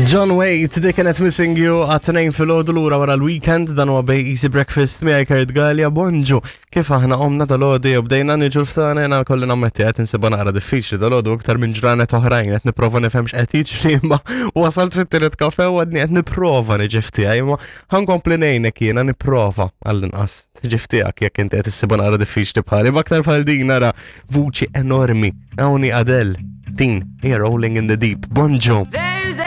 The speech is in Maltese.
John Waite, dik kienet Missing You għat-tnejn fil-ħodu lura wara l-weekend dan huwa bej Easy Breakfast miegħi Kurt Gallia bonġu. Kif aħna qomna dal-għodu jew bdejna niġu l-ftana jena kolli nammetti qed insibha naqra diffiċli dal-għodu iktar minn ġranet oħrajn qed nipprova nifhem x'qed jiġri imma wasalt fit-tielet kafe u għadni qed nipprova niġi ftiegħi imma ħankompli ngħinek jiena nipprova għall-inqas tiġi ftiegħek jekk inti qed issibha naqra diffiċli bħali b'aktar bħal din nara vuċi enormi hawnhi Adele din hija Rolling in the Deep. Bonġu.